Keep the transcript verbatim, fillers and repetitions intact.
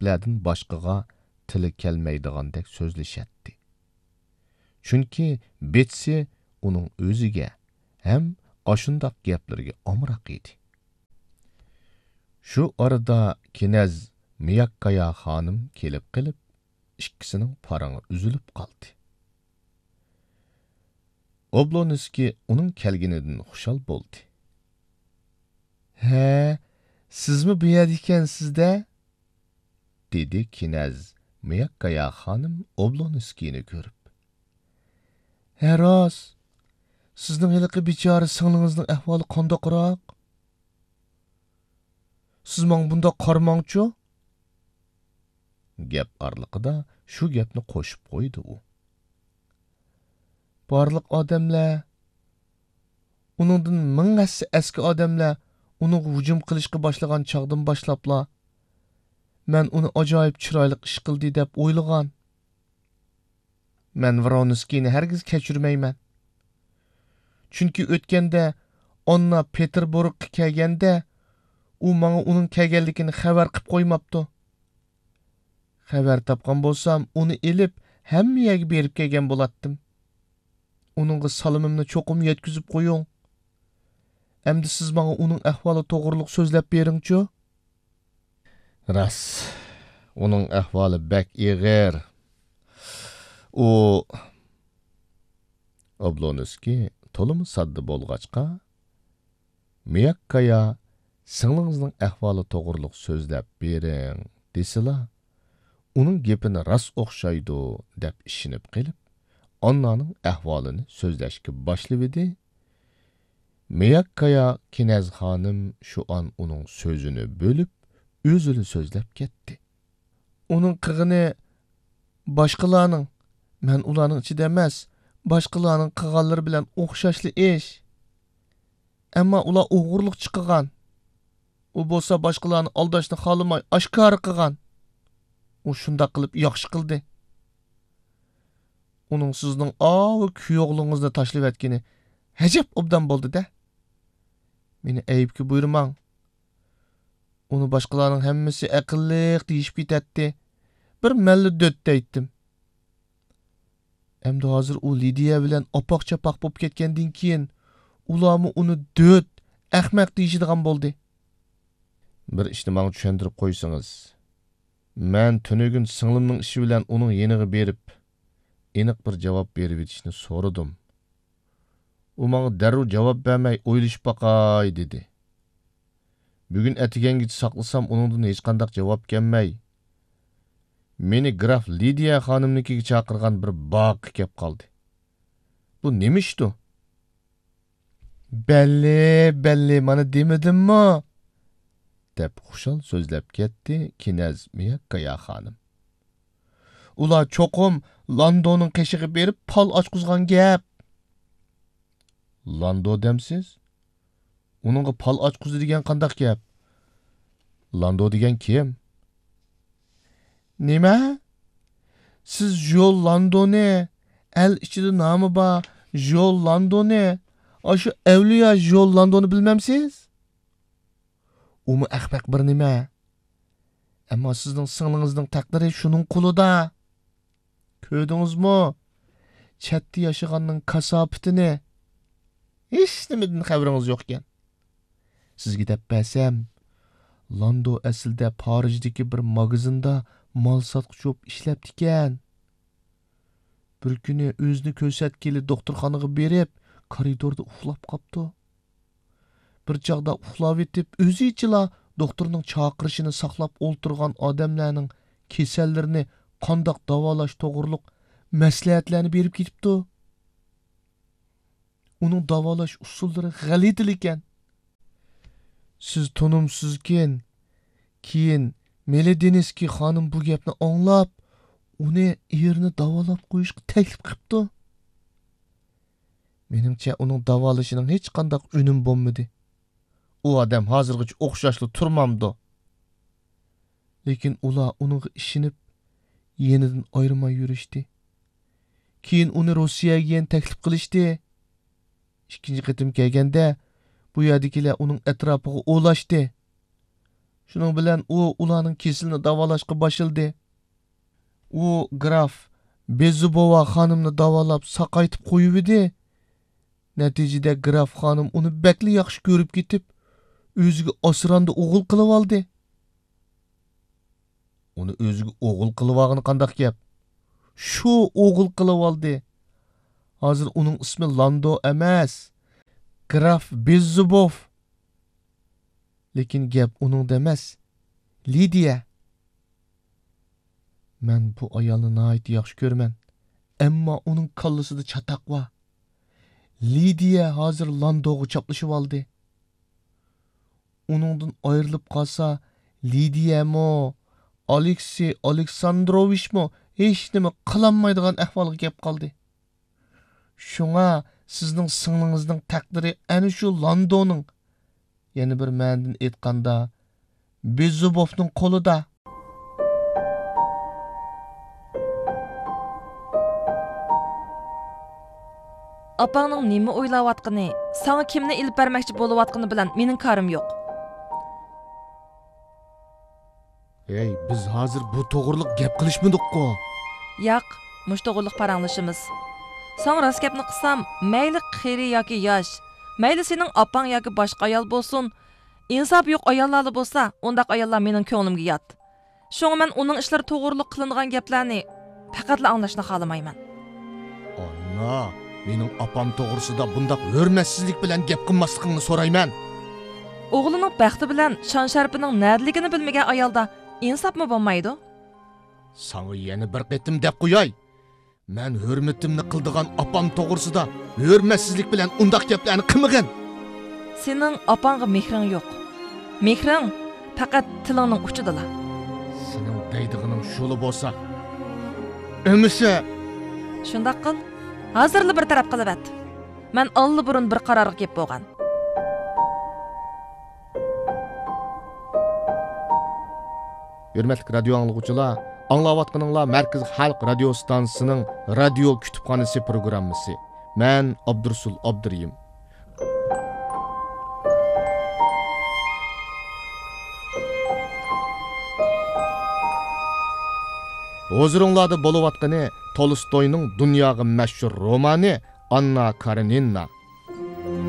ئەرلەردىن باشقىغا تىلى كەلمەيدىغاندەك سۆزلىشەتتى. چۈنكى بېتسى ئۇنىڭ ئۆزىگە ھەم ئاشۇنداق گەپلىرىگە ئامراق ئىدى. شۇ ئارىدا كىنەز مىياككايا خانىم كېلىپ قېلىپ، ئىككىسىنىڭ پارىڭى ئۈزۈلۈپ قالدى. ئوبلونسكىي ئۇنىڭ كەلگىنىدىن خۇشال بولدى. ھە، سىزمۇ بۇ يەردە ئىكەنسىز-دە؟ دېدى كىنەز مىياككايا خانىم ئوبلونسكىينى كۆرۈپ. ھە، راست. سىزنىڭ ھېلىقى بىچارە سىڭلىڭىزنىڭ ئەھۋالى قانداقراق؟ سىز ماڭا بۇنداق قارىماڭچۇ. گەپ ئارىلىقىدا شۇ گەپنى قوشۇپ قويدى ئۇ. بارلىق ئادەملەر، ئۇنىڭدىن مىڭ ھەسسە ئەسكى ئادەملەر ئۇنىڭغا ھۇجۇم قىلىشقا باشلىغان چاغدىن باشلاپلا، مەن ئۇنى ئاجايىپ چىرايلىق ئىش قىلدى دەپ ئويلىغان. مەن ۋرونسكىينى ھەرگىز كەچۈرمەيمەن. چۈنكى ئۆتكەندە ئاننا پېتېربۇرگقا كەلگەندە، ئۇ ماڭا ئۇنىڭ كەلگەنلىكىنى خەۋەر قىپ قويماپتۇ. خەۋەر تاپقان بولسام، ئۇنى ئېلىپ، ھەممە يەرگە بېرىپ كەلگەن بولاتتىم. ئۇنىڭغا سالىمىمنى چوقۇم يەتكۈزۈپ قويۇڭ. ئەمدى سىز ماڭا ئۇنىڭ ئەھۋالى توغرۇلۇق سۆزلەپ بېرىڭچۇ. راست، ئۇنىڭ ئەھۋالى بەك ئېغىر. ئۇ، ئوبلونسكىي تولىمۇ ساددا بولغاچقا، مىياككايا، سىڭلىڭىزنىڭ ئەھۋالى توغرۇلۇق سۆزلەپ بېرىڭ، دېسىلا، ئۇنىڭ گېپىنى راست ئوخشايدۇ، دەپ ئىشىنىپ قېلىپ، ئاننانىڭ ئەھۋالىنى سۆزلەشكە باشلىۋىدى. مىياككايا كىنەز خانىم شۇ ئان ئۇنىڭ سۆزىنى بۆلۈپ، ئۆزىلا سۆزلەپ كەتتى. ئۇنىڭ قىلغىنى باشقىلارنىڭ، مەن ئۇلارنىڭ ئىچىدە ئەمەس، باشقىلارنىڭ قىلغانلىرى بىلەن ئوخشاشلا ئىش. ئەمما ئۇلار ئوغرىلىقچە قىلغان. ئۇ بولسا باشقىلارنى ئالداشنى خالىماي ئاشكارا قىلغان. ئۇ شۇنداق قىلىپ ياخشى قىلدى. ئۇنىڭ سىزنىڭ ئاۋۇ كۈيئوغلىڭىزنى تاشلىۋەتكىنى ھەجەپ ئوبدان بولدى-دە. مېنى ئەيىبكە بۇيرۇماڭ. ئۇنى باشقىلارنىڭ ھەممىسى ئەقىللىق دېيىشىپ كېتەتتى. بىر مەنلا دۆت دەيتتىم. ئەمدى ھازىر ئۇ لىدىيە بىلەن ئاپاق-چاپاق بولۇپ كەتكەندىن كېيىن، ئۇلارمۇ ئۇنى دۆت، ئەخمەق دېيىشىدىغان بولدى. بىر ئىشنى ماڭا چۈشەندۈرۈپ قويسىڭىز. مەن تۈنۈگۈن سىڭلىمنىڭ ئىشى بىلەن ئۇنىڭ يېنىغا بېرىپ، ئېنىق بىر جاۋاب بېرىۋېتىشنى سورىدىم. ئۇ ماڭا دەررۇ جاۋاب بەرمەي، ئويلىشىپ باقاي، دېدى. بۈگۈن ئەتىگەنگىچە ساقلىسام، ئۇنىڭدىن ھېچقانداق جاۋاب كەلمەي، مېنى گراف لىدىيە خانىمنىڭكىگە چاقىرغان بىر باغقا كەپ قالدى. بۇ نېمە ئىشتۇ؟ بەللى، بەللى، مانا دېمىدىممۇ؟ دەپ خۇشال سۆزلەپ كەتتى كىنەز مىياككايا خانىم. ئۇلار چوقۇم لاندونىڭ قېشىغا بېرىپ پال ئاچقۇزغان گەپ. لاندو دەمسىز؟ ئۇنىڭغا پال ئاچقۇزدى دېگەن قانداق گەپ؟ لاندو دېگەن كىم؟ نېمە؟ سىز ژول لاندونى، ئەل ئىچىدە نامى بار ژول لاندونى، ئاشۇ ئەۋلىيا ژول لاندونى بىلمەمسىز؟ ئۇمۇ ئەخمەق بىر نېمە. ئەمما سىزنىڭ سىڭلىڭىزنىڭ تەقدىرى شۇنىڭ قولىدا. كۆردىڭىزمۇ؟ چەتتە ياشىغاننىڭ كاساپىتىنى. ھېچنېمىدىن خەۋىرىڭىز يوقكەن. سىزگە دەپ بەرسەم، لاندو ئەسلىدە پارىژدىكى بىر ماگىزىندا مال ساتقۇچى بولۇپ ئىشلەپتىكەن. بىر كۈنى ئۆزىنى كۆرسەتكىلى دوختۇرخانىغا بېرىپ، كارىدوردا ئۇخلاپ قاپتۇ. بىر چاغدا ئۇخلاۋېتىپ، ئۆزىچىلا دوختۇرنىڭ چاقىرىشىنى ساقلاپ ئولتۇرغان ئادەملەرنىڭ كېسەللىرىنى قانداق داۋالاش توغرۇلۇق مەسلىھەتلەرنى بېرىپ كېتىپتۇ. ئۇنىڭ داۋالاش ئۇسۇللىرى غەلىتىلىكەن. سىز تونۇمسىزكەن. كېيىن مېلېدىنسكىي خانىم بۇ گەپنى ئاڭلاپ، ئۇنى ئېرىنى داۋالاپ قويۇشقا تەكلىپ قىپتۇ. مېنىڭچە، ئۇنىڭ داۋالىشىنىڭ ھېچقانداق ئۈنۈمى بولمىدى. ئۇ ئادەم ھازىرغىچە ئوخشاشلا تۇرمامدۇ؟ لېكىن ئۇلار ئۇنىڭغا ئىشىنىپ، يېنىدىن ئايرىماي يۈرۈشتى. كېيىن ئۇنى روسىيەگە يەنە تەكلىپ قىلىشتى. ئىككىنچى قېتىم كەلگەندە، بۇ يەردىكىلەر ئۇنىڭ ئەتراپىغا ئولاشتى. شۇنىڭ بىلەن ئۇ ئۇلارنىڭ كېسىلىنى داۋالاشقا باشلىدى. ئۇ گراف بېززۇبوۋا خانىمنى داۋالاپ ساقايتىپ قويۇۋىدى. نەتىجىدە گراف خانىم ئۇنى بەكلا ياخشى كۆرۈپ كېتىپ، ئۆزىگە ئاسراندا ئوغۇل قىلىۋالدى. ئۇنى ئۆزىگە ئوغۇل قىلىۋالغىنى قانداق گەپ؟ شۇ ئوغۇل قىلىۋالدى. ھازىر ئۇنىڭ ئىسمى لاندو ئەمەس، گراف بېززۇبوف. لېكىن گەپ ئۇنىڭدا ئەمەس، لىدىيە. مەن بۇ ئايالنى ناھايىتى ياخشى كۆرىمەن، ئەمما ئۇنىڭ كاللىسىدا چاتاق بار. لىدىيە ھازىر لاندوغا چاپلىشىۋالدى. ئۇنىڭدىن ئايرىلىپ قالسا، لىدىيەمۇ، ئالېكسېي ئالېكساندروۋىچمۇ ھېچنېمە قىلالمايدىغان ئەھۋالغا كەپ قالدى. شۇڭا سىزنىڭ سىڭلىڭىزنىڭ تەقدىرى ئەنە شۇ لاندونىڭ، يەنە بىر مەنىدىن ئېيتقاندا، بېززۇبوفنىڭ قولىدا. ئاپاڭنىڭ نېمە ئويلاۋاتقىنى، ساڭا كىمنى ئېلىپ بەرمەكچى بولۇۋاتقىنى بىلەن مېنىڭ كارىم يوق. ھەي، بىز ھازىر بۇ توغرىلىق گەپ قىلىشمىدۇققۇ؟ ياق، مۇشۇ توغرىلىق پاراڭلىشىمىز. ساڭا راست گەپنى قىلسام، مەيلى قېرى ياكى ياش، مەيلى سېنىڭ ئاپاڭ ياكى باشقا ئايال بولسۇن، ئىنساپى يوق ئاياللارلا بولسا، ئۇنداق ئاياللار مېنىڭ كۆڭلۈمگە يات. شۇڭا مەن ئۇنىڭ ئىشلىرى توغرۇلۇق قىلىنغان گەپلەرنى پەقەتلا ئاڭلاشنى خالىمايمەن. ئانا، مېنىڭ ئاپام توغرىسىدا بۇنداق ھۆرمەتسىزلىك بىلەن گەپ قىلماسلىقىڭنى سورايمەن. ئوغلىنىڭ بەختى بىلەن شان-شەرىپىنىڭ نەدىلىكىنى بىلمىگەن ئايالدا ئىنساپمۇ بولمايدۇ. ساڭا يەنە بىر قېتىم دەپ قوياي. مەن ھۆرمىتىمنى قىلىدىغان ئاپام توغرىسىدا ھۆرمەتسىزلىك بىلەن ئۇنداق گەپلەرنى قىلمىغىن. سېنىڭ ئاپاڭغا مېھرىڭ يوق. مېھرىڭ پەقەت تىلىڭنىڭ ئۇچىدىلا. سېنىڭ دەيدىغىنىڭ شۇلا بولسا، ئۆمىسە. شۇنداق قىل، ھازىرلا بىر تەرەپ قىلىۋەت. مەن ئاللىبۇرۇن بىر قارارغا كېلىپ بولغان. ھۆرمەتلىك رادىيو ئاڭلىغۇچىلار، ئاڭلاۋاتقىنىڭلار مەركىزىي خەلق رادىيو ئىستانسىسىنىڭ رادىيو كۇتۇپخانىسى پروگراممىسى. مەن ئابدۇرۇسۇل ئابدۇرېھىم. ھۇزۇرۇڭلاردا بولۇۋاتقىنى تولستوينىڭ دۇنياغا مەشھۇر رومانى ئاننا كارېنىنا.